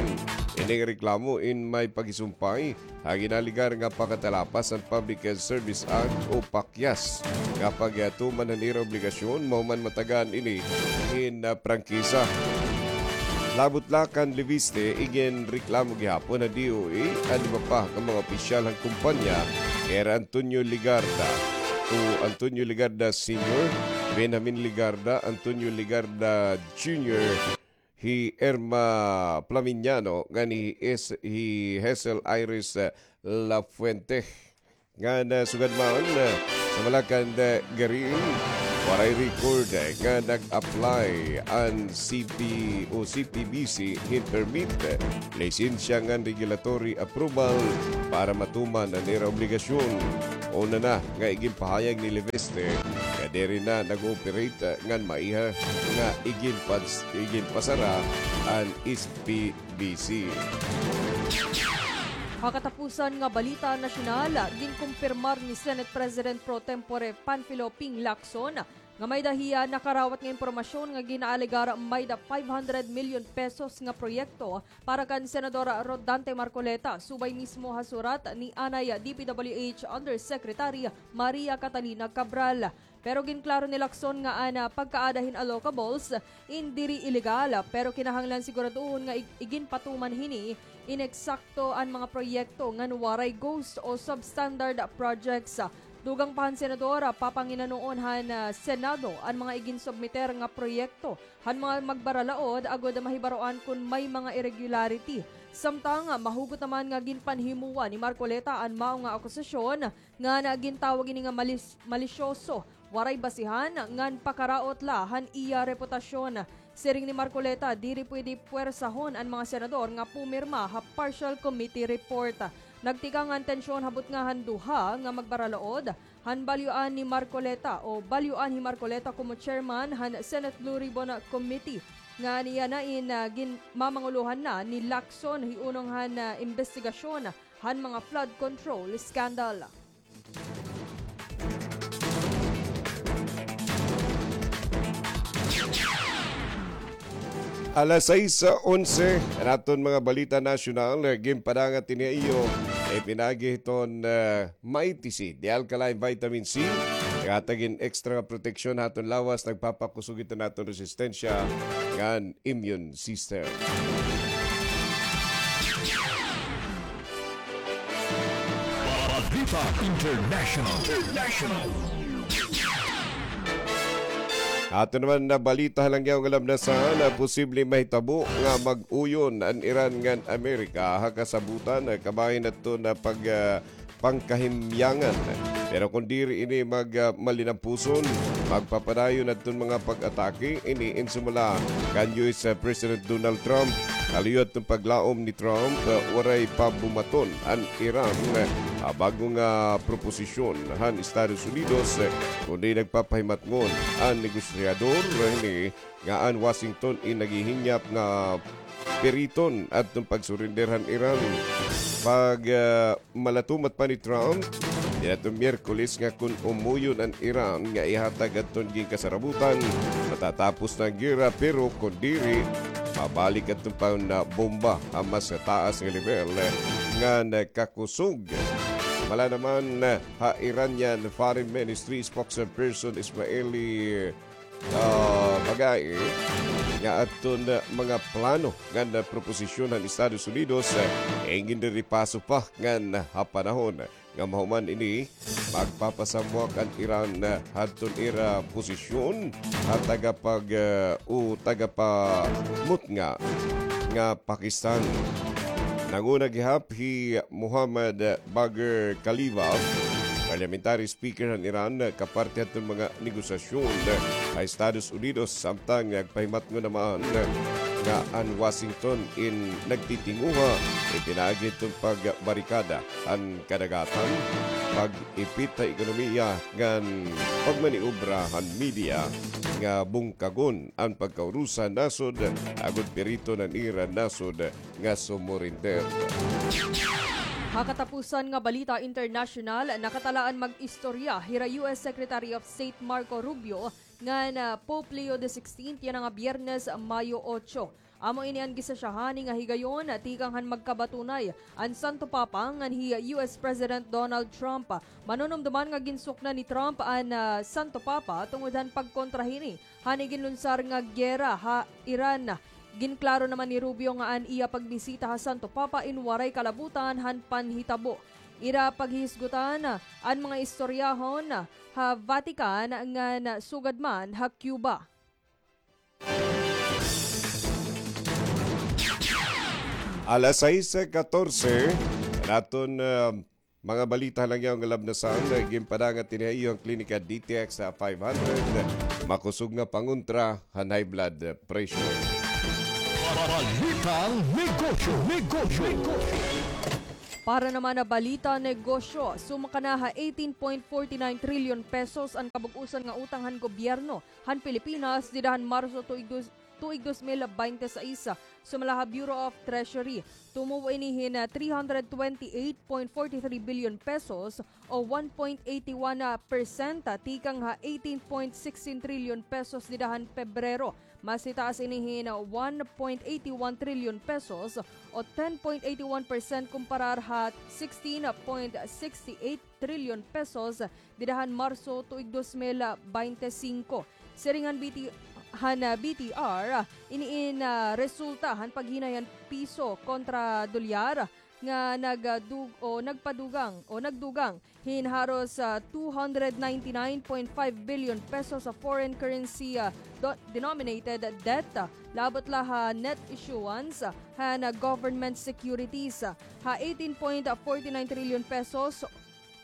Ini nga reklamo in may paghisumpay ha ginaligar nga pakatalapas han Public Service Act o PACYAS nga paghituman han ira obligasyon mahuman matagaan ini hin, ah, prangkisa. Labot la kan Leviste, iginreklamo gihapon han D O A an iba pa nga mga opisyal han kumpanya, kay Antonio Legarda, to Antonio Legarda Senior, Benjamin Legarda, Antonio Legarda Junior, hi Irma Flaminiano, ngan hi Is-, hi Hazel Iris, eh, Lafuente. Ngan, eh, sugad man, eh, sa Malacan, eh, Garin, waray record, eh, nga nag-apply an C P o C P B C hin permit, eh, lisensya ngan regulatory approval para matuman an ira obligasyon. Una na nga iginpahayag ni Leviste nga diri na nag-ooperate, eh, ngan maiha nga iginpas-, iginpasara an S P B C. Ha katapusan nga balita nasyonal, ginkumpirmar ni Senate President Pro Tempore Panfilo Ping Lacson nga may-ada hiya nakarawat nga impormasyon nga ginaalegar may-ada five hundred million pesos nga proyekto para kan Senador Rodante Marcoleta, subay mismo ha surat ni anay D P W H Undersecretary Maria Catalina Cabral. Pero ginklaro ni Lacson nga an, ah, pagkaada hin allocables in diri ilegal, pero kinahanglan siguraduhon nga ig-, iginpatuman hini in eksakto an mga proyekto ngan waray ghost o substandard projects. Dugang pa han senador, ah, papanginanoon han, ah, Senado an mga iginsubmiter nga proyekto han mga magbaralaod agod mahibaroan kon may mga irregularity. Samtang, ah, mahugot naman nga ginpanhimuan ni Marcoleta an mao nga akusasyon nga gintawag ini nga malis-, malisyoso, waray basihan, ngan pakaraot la han iya reputasyon. Siring ni Marcoleta, diri pwede puwersahon an mga senador nga pumirma ha partial committee report. Nagtikang an tensyon ha butnga han duha nga magbaralaod, han balyuan ni Marcoleta o balyuan hi Marcoleta komo chairman han Senate Blue Ribbon Committee, nga niya na in, ah, ginmamangulohan na ni Lacson hiunong han, ah, imbestigasyon han mga flood control scandal. Alas sais onse, an aton mga balita nasyonal, eh, ginpadangat ini ha iyo, eh, pinaagi hiton, eh, Mighty C, the alkaline vitamin C, naghatag hin extra nga proteksyon ha aton lawas, nagpapakusog hiton aton resistensya ngan immune system. Balita International. International. Ato naman nga balita ha langyaw nga lamnasan, nga posible mahitabo nga mag-uyon an Iran ngan Amerika ha kasabutan, ah, kabahin adton pag, ah, pangkahimyangan. Pero kon diri ini mag, ah, malinampuson, magpapadayon adton mga pag-atake ini in sumala kan U S President Donald Trump. Kaluyo adton paglaom ni Trump, ah, waray pa bumaton an Iran, ah, bag-o nga proposisyon han Estados Unidos, ah, kundi nagpapahimatngon an negosyador, ah, ini nga an Washington in naghihinyap nga piriton adton pagsurrender han Iran. Pag, ah, malatumat pa ni Trump, niadtong Miyerkules nga kon umuyon an Iran nga ihatag adton ginkasarabutan, matatapos na an gera, pero kon diri, mabalik adton pangbomba ha mas taas nga lebel nga nakakusog. Mala naman ha Iranian Foreign Ministry spokesperson Ismaili, ah, Baghai, nga adton mga plano ngan proposisyon han Estados Unidos, eh, ginrerepaso pa ngan ha panahon nga mahuman ini, magpapasamwak an Iran hadton ira posisyon ha tagapag-, ah, o tagapamutnga nga Pakistan. Nanguna gihap hi Muhammad Bagher Khalilzad, parliamentary speaker han Iran, kaparte hadton mga negosasyon ha Estados Unidos, samtang nagpahimatngon naman nga an Washington in nagtitinguha, ipinaagi hadton pagbarikada han kadagatan, pag-ipit ha ekonomiya ngan pagmaniobra han media nga bungkagon an pagkaurusa han nasod agod piriton an ira nasod nga sumurinder. Ha katapusan nga balita internasyonal, nakatalaan mag-istorya hira U S Secretary of State Marco Rubio ngan, ah, Pope Leo the sixteenth yana nga Biyernes, Mayo otso. Amo ini an gisasyahan nga higayon tikang han magkabatunay an Santo Papa ngan hi U S President Donald Trump. Manunumdoman nga ginsuknan ni Trump an, ah, Santo Papa tungod han pagkontra hini han iginlunsar nga gera ha Iran. Ginklaro naman ni Rubio nga an iya pagbisita ha Santo Papa in waray kalabutan han panhitabo. Ira paghihisgutan an mga istoryahon ha Vatican ngan sugad man ha Cuba. Alas sais katorse, an aton, ah, mga balita ha langyaw nga labnasan, eh, ginpadangat ini ha iyo han Klinika D T X five hundred, makusog nga pangontra han high blood pressure. Balitang negosyo, negosyo, negosyo. Para naman ha balita negosyo, sumaka na ha eighteen point forty nine trillion pesos an kabug-osan nga utang han gobyerno han Pilipinas dida han Marso tuig dus-, tuig dos mil baynte sais. Sumala ha Bureau of Treasury, tumubo ini hin, ah, three hundred twenty-eight point forty-three billion pesos o one point eighty-one percent tikang ha eighteen point sixteen trillion pesos dida han Pebrero. Mas hitaas ini hin one point eighty-one trillion pesos o ten point eighty-one percent kumparar ha sixteen point sixty-eight trillion pesos dida han Marso tuig dos mil baynte singko. Siring han B T, han, ah, B T R, ini in, ah, resulta han paghinay han piso kontra dolyar nga nagdug-, o nagpadugang o nagdugang hin haros, ah, two hundred ninety-nine point five billion pesos ha foreign currency, ah, do-, denominated debt, ah, labot la ha net issuance, ah, han, ah, government securities, ah, ha eighteen point forty nine trillion pesos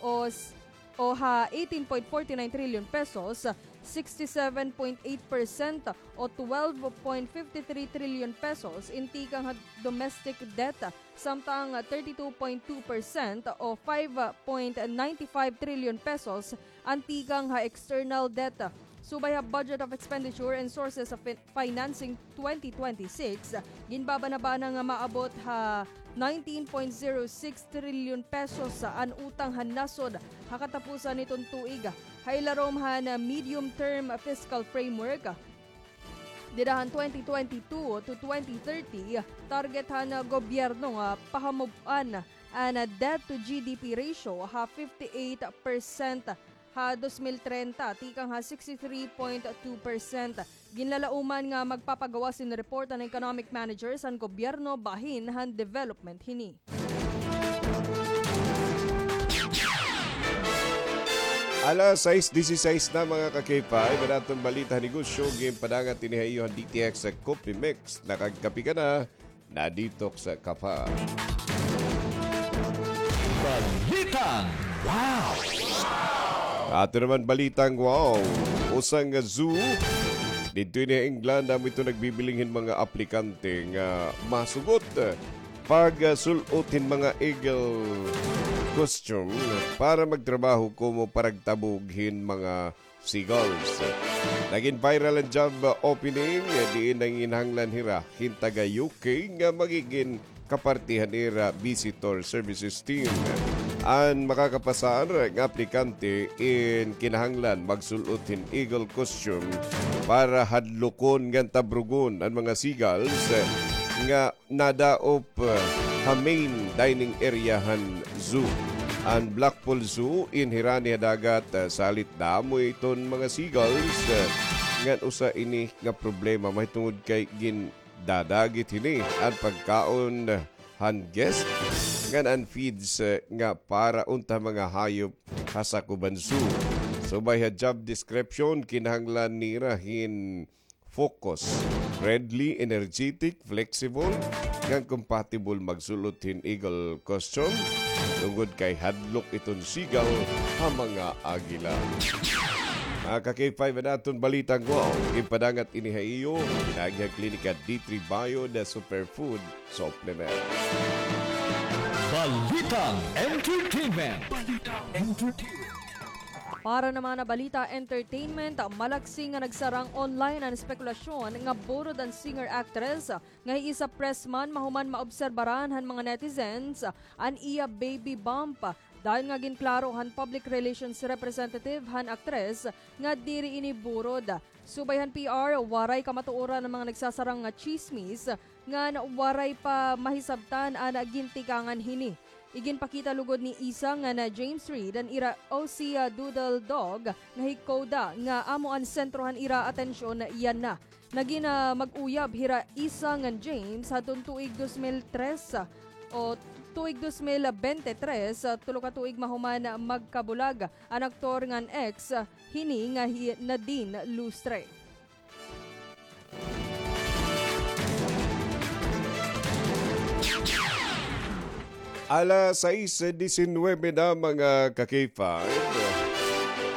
o s-, o ha eighteen point forty nine trillion pesos, sixty-seven point eight percent o twelve point fifty-three trillion pesos in tikang ha domestic debt, samtang thirty-two point two percent o five point ninety-five trillion pesos an tikang ha external debt. Subay ha Budget of Expenditure and Sources of Fin-, Financing twenty twenty-six, ginbabanabana nga maabot ha nineteen point zero six trillion pesos an utang han nasod ha katapusan niton tuig. Ha ilarom han medium-term fiscal framework, dida han twenty twenty-two to twenty thirty, target han gobyerno nga pahamub-an an debt to G D P ratio ha fifty-eight percent ha dos mil trenta, tikang ha sixty-three point two percent. Ginlalauman nga magpapagawas hin report an economic managers han gobyerno bahin han development hini. Alas sais diseseis na, mga ka-K five, an aton balita ha negosyo, ginpadangat ini ha iyo han D T X Coffee Mix. Nakagkape ka na, na-detox ka pa. Balitang wow! Ato naman balitang wow. Usa nga zoo didto ini ha England, amo ito nagbibiling hin mga aplikante nga masugot pagsul-ot hin mga eagle costume para magtrabaho komo paragtabog hin mga seagulls. Nagin viral an job opening, diin nanginahanglan hira hin taga U K nga magigin kaparti han ira visitor services team. An makakapasar nga aplikante in kinahanglan magsul-ot hin eagle costume para hadlukon ngan tabrugon an mga seagulls nga nadaop, ah, ha main dining area han zoo. An Blackpool Zoo in hirani ha dagat, ah, salit damo iton mga seagulls, ah, ngan usa ini nga problema mahitungod kay gindadagit hini an pagkaon han guest ngan an feeds, ah, nga para unta mga hayop ha sakob han zoo. Subay ha job description, kinahanglan nira hin focus, friendly, energetic, flexible, ngan compatible magsul-ot hin eagle costume, tungod kay hadlok iton seagull ha mga agila. Mga ka-K five, an aton balitang wow, ginpadangat ini ha iyo, pinaagi han Klinika D three Bio, the superfood supplement. Balitang entertainment. Balitang entertainment. Para naman ha balita entertainment, malaksi nga nagsarang online an espekulasyon nga burod an singer-actress nga hi Isa Pressman mahuman maobserbaran han mga netizens an iya baby bump. Dayon nga ginklaro han public relations representative han aktres nga diri ini burod. Subay han P R, waray kamatuoran an mga nagsasarang nga tsismis ngan waray pa mahisabtan an gintikangan hini. Iginpakita lugod ni Isa ngan James Reid an ira Aussie Doodle Dog nga hi Koda nga amo an sentro han ira atensyon yana. Nagin, ah, mag-uyab hira Isa ngan James hadton tuig dos mil tres, ah, o tuig dos mil bente tres, ah, tulo ka tuig mahuman magkabulag an aktor ngan ex, ah, hini nga hi Nadine Lustre. Alas sais disinuybe na, mga ka-K five.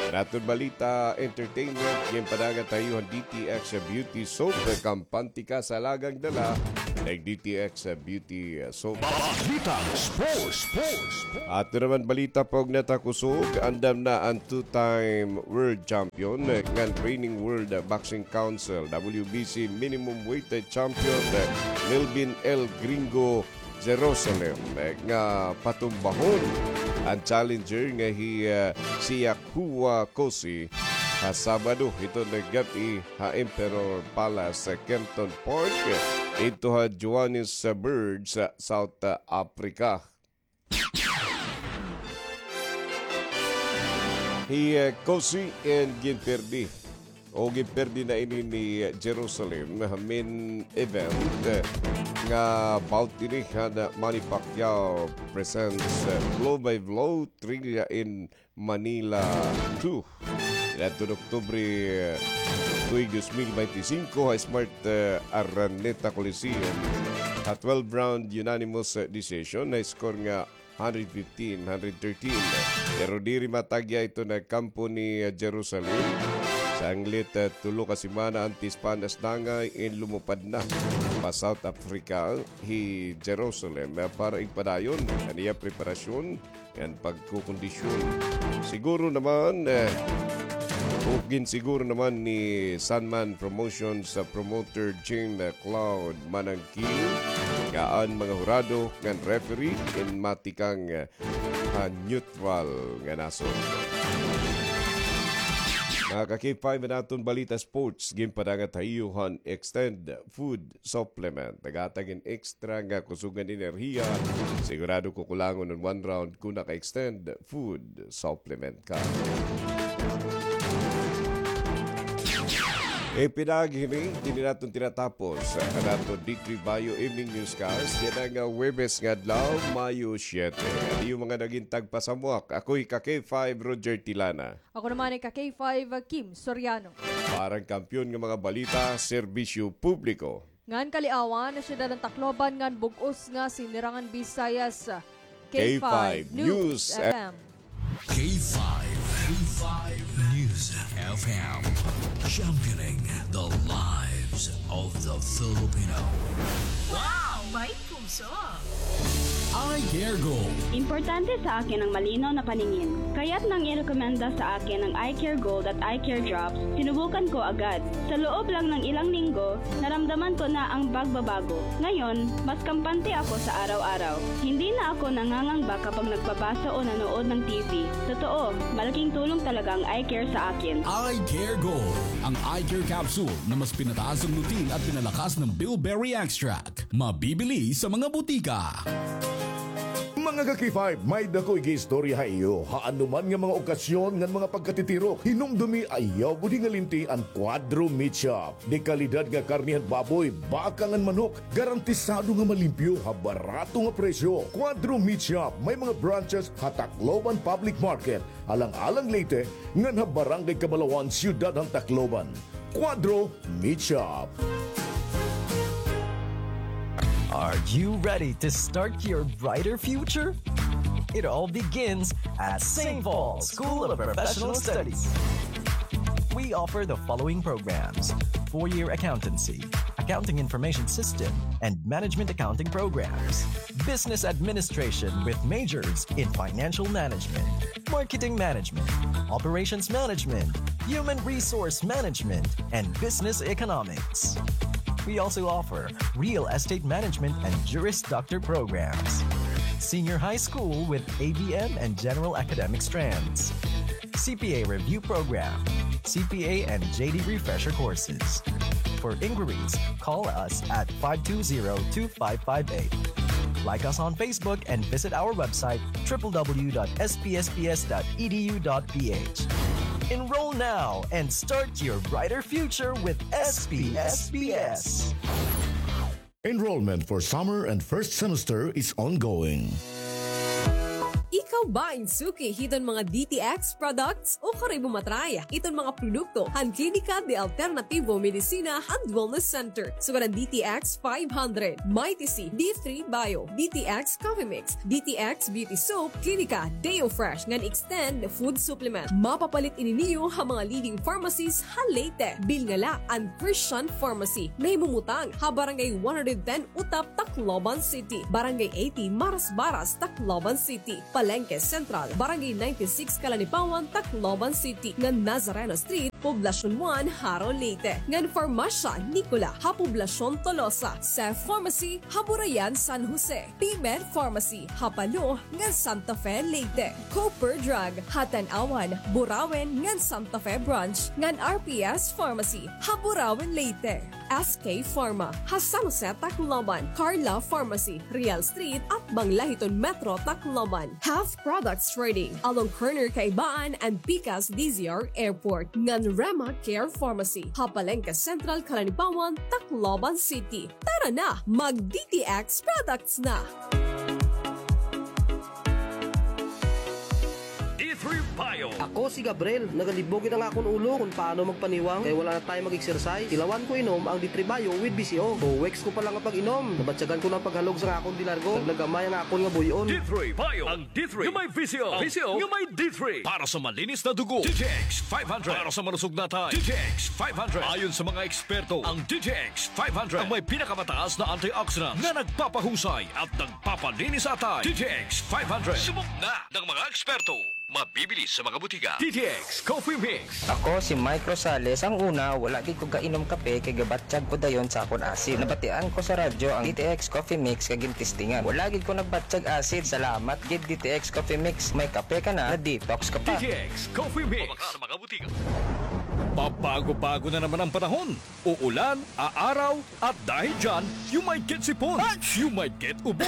An aton balita entertainment, ginpadangat ha iyo han D T X Beauty Soap. Kampante ka sa alagang dala, nag-D T X Beauty Soap. Balita Sports, Sports, Sports. Ato naman balita, pag natakusog, andam na an two-time world champion, eh, ngan reigning World Boxing Council, W B C, minimum weight, eh, champion, eh, Melvin El Gringo Jerusalem, eh, nga patumbahon an challenger nga hi, eh, Siakua Kosi ha Sabado hiton gab-i ha Emperor Palace, eh, Kempton Park, eh, didto ha Johannesburg sa South Africa. Hi, eh, Kosi and ginperdi. O ginperdi na ini ni Jerusalem ha main event, eh, nga bout ini han Manny Pacquiao presents, eh, Blow by Blow Trivia in Manila two. Niadton Oktubre, eh, tuig dos mil bente singko ha Smart, eh, Araneta Coliseum. Ha twelve round unanimous, eh, decision, na score nga hundred fifteen, hundred thirteen. Pero diri matagya iton kampo ni, eh, Jerusalem. Sanglit, eh, tulo ka semana antes pa an asnangay in lumupad na pa South Africa hi Jerusalem, eh, para igpadayon an iya preparasyon ngan pagkukondisyon. Siguro naman, eh, o ginsiguro naman ni Sandman Promotions, eh, promoter Jean Claude Manang Kill, nga an mga hurado ngan referee in matikang, eh, ha neutral nga nasod. Mga ka-K five, an aton balita sports, ginpadangat ha iyo han Extend Food Supplement. Naghatag hin extra nga kusog ngan enerhiya. Sigurado kukulangon an one round kon naka-Extend Food Supplement ka. Ipinaagi hini, dinhi naton tinatapos an aton D three Bio Evening Newscast yana nga Huwebes nga adlaw, Mayo siyete. An iyo mga nagin tagpasamuak, ako hi ka-K five, Roger Tilana. Ako naman hi ka-K five, Kim Soriano. Para han kampiyon nga mga balita, serbisyo publiko. Ngan kaliawan, siyudad han Tacloban ngan bug-os nga Sinirangan Visayas. K five News F M. K five, K five News F M. Championing the lives of the Filipino. Wow! May puso! Eye Care Gold. Importante sa akin ang malinaw na paningin. Kaya't nang irekomenda sa akin ang Eye Care Gold at Eye Care Drops, sinubukan ko agad. Sa loob lang ng ilang linggo, naramdaman ko na ang pagbabago. Ngayon, mas kampante ako sa araw-araw. Hindi na ako nangangamba kapag nagbabasa o nanood ng T V. Totoo, malaking tulong talaga ang Eye Care sa akin. Eye Care Gold, ang eye care capsule na mas pinataas ang routine at pinalakas ng bilberry extract. Mabibili sa mga butika. Mga ka-K five, may-ada ko igiistorya ha iyo. Ha anoman nga mga okasyon ngan mga pagkatitirok, hinumdumi, ayaw gud hingalinti an Cuadro Meat Shop. Dekalidad nga karne han baboy, baka ngan manok, garantisado nga malimpyo ha barato nga presyo. Cuadro Meat Shop, may mga branches ha Tacloban Public Market, Alang-alang, Leyte, ngan ha Barangay Cabalawan, Siyudad han Tacloban. Cuadro Meat Shop. Are you ready to start your brighter future? It all begins at Saint Paul School of Professional Studies. We offer the following programs: four-year accountancy, accounting information system, and management accounting programs, business administration with majors in financial management, marketing management, operations management, human resource management, and business economics. We also offer real estate management and Juris Doctor programs, senior high school with A B M and general academic strands, C P A review program, C P A and J D refresher courses. For inquiries, call us at five two zero two five five eight. Like us on Facebook and visit our website, triple w dot s p s p s dot e d u dot p h. Enroll now and start your brighter future with S P S P S. Enrollment for summer and first semester is ongoing. Ikaw ba in suki hiton mga D T X products? Ukon kay imo ma-try iton mga produkto han Klinika de Alternativo Medicina and Wellness Center, sugad an D T X five hundred, Mighty C, D three Bio, D T X Coffee Mix, D T X Beauty Soap, Klinika Deo Fresh ngan Extend Food Supplement. Mapapalit ini niyo ha mga leading pharmacies ha Leyte. Bilnga la an Christian Pharmacy. Nahimumutang ha Barangay one hundred ten Utap, Tacloban City, Barangay eighty Marasbaras, Tacloban City, Palengke Central, Barangay ninety-six Calanipawan, Tacloban City, ngan Nazareno Street, Poblacion one, Jaro, Leyte, ngan Farmacia Nicola ha Poblacion Tolosa, Cef Pharmacy ha Burayan, San Jose, P-Med Pharmacy ha Palo ngan Santa Fe, Leyte, Cooper Drug ha Tanauan, Burauen ngan Santa Fe Branch, ngan R P S Pharmacy ha Burauen, Leyte. S K Pharma ha San Jose, Tacloban, Carla Pharmacy, Real Street, atbang la hiton Metro Tacloban, Health Products Trading, along corner Kaibaan and Pikas D Z R Airport, ngan Rema Care Pharmacy ha Palengke Central, Calanipawan, Tacloban City. Tara na, mag-D T X products na! D three Bio. Ako si Gabriel. Nagalibog gid an akon ulo kon paano magpaniwang kay wala na tayo mag-exercise. Tilawan ko inom ang D three Bio with V C O. Two weeks ko pa lang nga pag-inom, nabatyagan ko na an paghalog sa akon dinargo. Naglagamay ang akon nga buy-on. D three Bio. Ang D three nga may V C O. V C O nga may D three. Para sa malinis na dugo, D T X five hundred. Para sa malusog na atay, D T X five hundred. Ayon sa mga eksperto, ang D T X five hundred ang may pinakamataas na antioxidants na nagpapahusay at nagpapalinis sa atay. D T X five hundred. Subok na ng mga eksperto. Mabibili sa mga butika. D T X Coffee Mix. Ako si Mike Rosales. Ang una, wala gid ko kainom kape kay gabatyag ko dayon sa akon acid. Nabatian ko sa radyo ang D T X Coffee Mix kay gintestingan. Wala gid ko nagbatyag acid. Salamat gid D T X Coffee Mix. May kape ka na, na-detox ka pa. D T X Coffee Mix. Mabaka sa mga butika. Pabago-bago na naman ang panahon. Uulan, aaraw, at dahil dyan, you might get sipon, you might get ubo,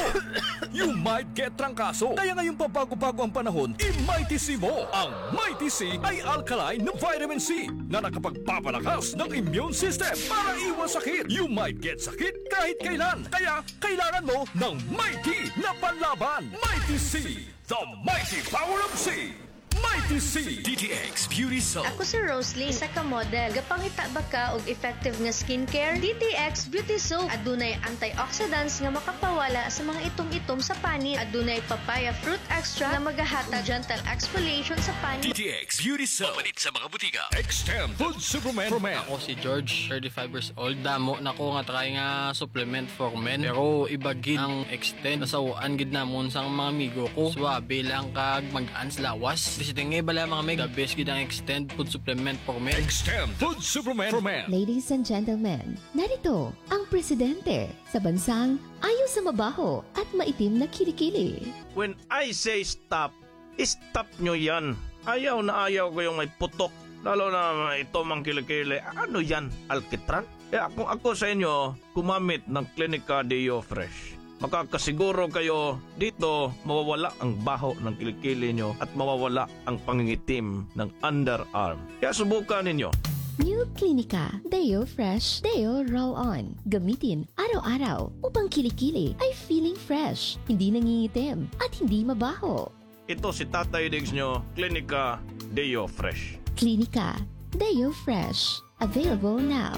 you might get trangkaso. Kaya ngayong pabago-bago ang panahon, i-Mighty C mo. Ang Mighty C ay alkaline na vitamin C na nakapagpapalakas ng immune system para iwas sakit. You might get sakit kahit kailan. Kaya kailangan mo ng Mighty na panlaban. Mighty C, the mighty power of C. Mighty C. D T X Beauty Soap. Ako si Roslyn, isa ka model. Gapangita ba ka og effective nga skincare? D T X Beauty Soap. Adunay antioxidants nga makapawala sa mga itom-itom sa panit. Adunay papaya fruit extract nga magahatag gentle exfoliation sa panit. D T X Beauty Soap. Mapalit sa mga butika. Extend Food Supplement for Men. Ako si George, thirty-five years old. Damo na ko nga try nga supplement for men. Pero iba gid ang Extend. Nasaw-an gid namon sang mga amigo ko. Suabe lang kag mag-ans lawas. Bisitenge bala, mga mig. The best gid ang Extend Food Supplement for Men. Extend Food Supplement for Men. Ladies and gentlemen, narito ang presidente sa bansang ayaw sa mabaho at maitim na kilikili. When I say stop, stop nyo yan. Ayaw na ayaw ko yung may putok. Lalo na may itom ang kilikili. Ano yan? Alkitran? Kaya kung ako sa inyo, gumamit ng Clinica Deo Fresh. Makakasiguro kayo dito mawawala ang baho ng kilikili nyo at mawawala ang pangingitim ng underarm. Kaya subukan ninyo. New Clinica Deo Fresh Deo Roll-On. Gamitin araw-araw upang kilikili ay feeling fresh, hindi nangingitim, at hindi mabaho. Ito si Tatay Diggs nyo, Clinica Deo Fresh. Clinica Deo Fresh. Available now.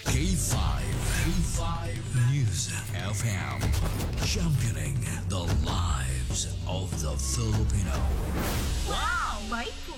K five, K five News F M, championing the lives of the Filipino. Wow! May